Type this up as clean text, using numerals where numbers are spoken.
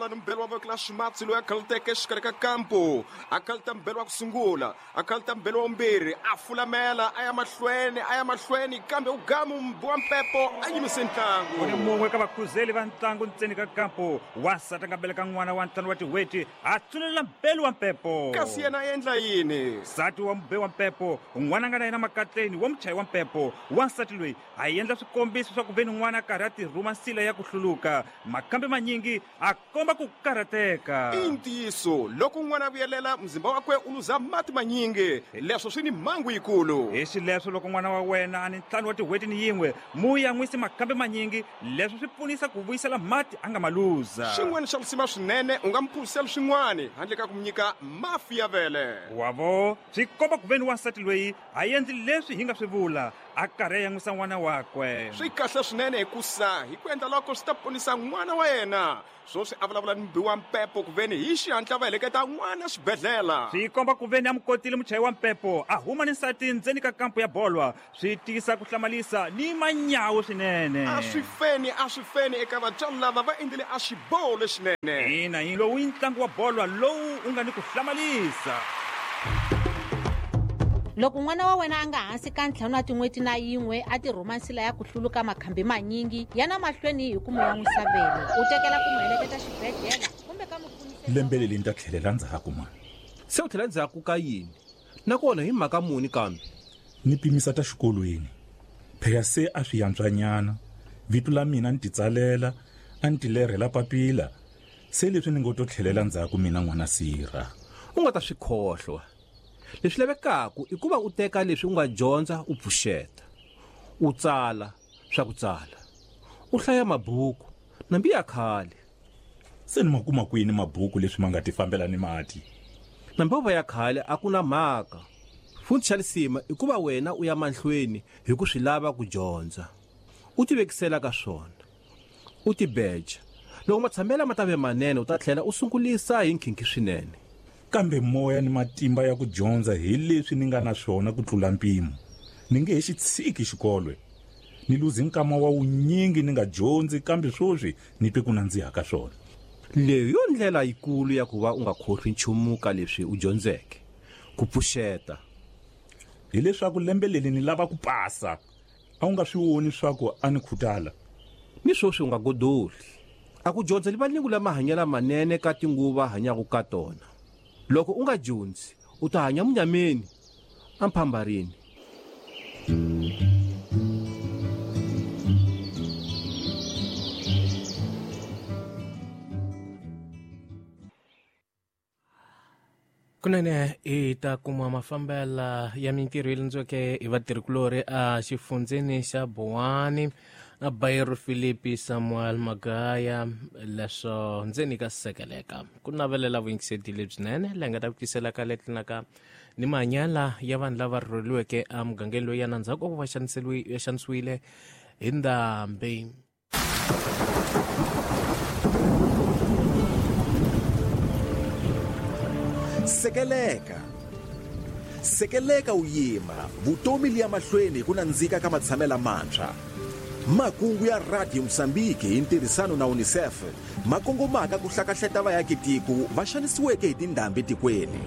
bolo ni mbelo wa voko la ximatsi loyi a khaluteke exikarhi ka kampu. A khaluta mbelo wa ku sungula, a khaluta mbelo wa vumbirhi, a fulamela a ya mahlweni, a ya mahlweni, kambe u gamu mbi wa mpepo a yimise ntlangu. Ku ni mun'we ka vakhuzeli va ntlangu ntseni ka kampu, wansati a nga beleka n'wana wa ntlhanu wa tin'hweti, a tsunelela mbelu wa mpepo. Kasi yena a endla yini? Nsati wa mubeyi wa mpepo, n'wana a nga na yena makatleni wa muchayi wa mpepo, wansati loyi a endla swikombiso swa ku ve ni n'wana a karhi a tirhuma nsila ya ku hluluka. Makhambi manyingi a komba ku karhateka. I ntiyiso, loko n'wana a vuyelela, muzimba wakwe u luza mati manyingi. Leswo swi ni mhangu yikulu. Hi xileswo, loko n'wana wa wena a ni ntlhanu wa tin'hweti ni yin'we, mu yan'wisi makhambi manyingi. Leswo swi pfunisa ku vuyisela mati a nga ma luza. Xin'wana xa lisima swinene, u nga mu phuziseli swin'wana handle ka ku mu nyika mafi ya vele. Wa vo, swi komba ku ve ni wansati loyi a endli leswi hi nga swi vula, a karhi a yan'wisa n'wana wakwe. Swi kahle swinene hikusa hi ku endla loko swi ta ponisa n'wana wa yena. Swoswi a vulavula ni mubi wa mpepo kuveni hi xihatla va heleketa n'wana xibedhlela. Swi komba kuveni a mu kotile muchayi wa mpepo a huma ni nsati ndzeni ka kampu ya bolwa. Swi tisa ku hlamalisa ni manyawu swinene. A swi feni, a swi feni eka vatswari lava va endlile a xiboho lexinene. Ina, hi lowu i ntlangu wa bolwa lowu u nga ni ku hlamalisa. Loko n'wana wa wena a nga hansi ka ntlhanu wa tin'hweti na yin'we a tirhuma nsila ya ku hluluka makhambi manyingi, yana mahlweni hi ku mu yan'wisa vele, u tekela ku mu heleketa xibedhlela kumbe ka mupfuniseli wa Lembe leli ni ta tlhelela ndzhaku mani. Se u tlhela ndzhaku ka yini? Nakona hi mhaka muni kambe? Ni pimisa ta xikolweni. Phela se a swi yantswanyana. Vito la mina ni titsalela, a ni tilerhela papila. Se leswi ni ngo to tlhelela ndzhaku mina n'wana sirha. U nga ta swi khohlwa. Leswi lavekaka i ku va u teka leswi u nga dyondza u pfuxeta. U tsala swa ku tsala. U hlaya mabuku, nambi ya khale. Se ni ma kuma kwini mabuku leswi ma nga tifambela ni mati? Nambi yo va ya khale a ku na mhaka. Futhi xa lisima i ku va wena u ya mahlweni hi ku swi lava ku dyondza. U tivekisela ka swona. U tibeja. Loko matshamela ma ta ve manene u ta tlhela u sungulisa hi nkhinkhi swinene. Kambe moya ni matimba ya ku dyondza hi leswi ni nga na swona ku tlula mpimo. Ni nge he xi tshiki xikolo. Ni luze nkama wa wunyingi ni nga dyondzi kambe swoswi ni twe ku nandziha ka swona. Leyi yo ndlela yikulu ya ku va u nga khohlwi nchumu ka leswi u dyondzeke. Ku pfuxeta. Hi leswaku lembe leli ni lava ku pasa. A wu nga swi voni swaku a ni khutala? Ni swoswi u nga godoli. A ku dyondza livalingu la mahanyela manene ka tinguva hanyaku ka tona. Loko u nga dyondzi, u ta hanya munyameni, amphambarini. Kunene hi ta kuma mafambela ya mintirho yi landziweke hi vatirhikulorhi a xifundzeni xa Buwani na Bayero Philipi Samuel Magaya leswo ndzeni ka sekeleka ku navelela vuyingiseti lebyinene leyi nga ta ku tisela ka letlinaka ni mahanyela ya vanhu lava rhurheliweke emugangeni loyi ya na ndzhaku ka ku va xanisiwile hi ndhambi. Sekeleka. Sekeleka u yima, vutomi li ya mahlweni hi ku nandzika ka matshamela mantshwa. Makungu ya Radio Mozambique hi ntirhisano na UNICEF ma kongomaka ku hlakahleta vaakitiko va xanisiweke hi tindhambi tikweni.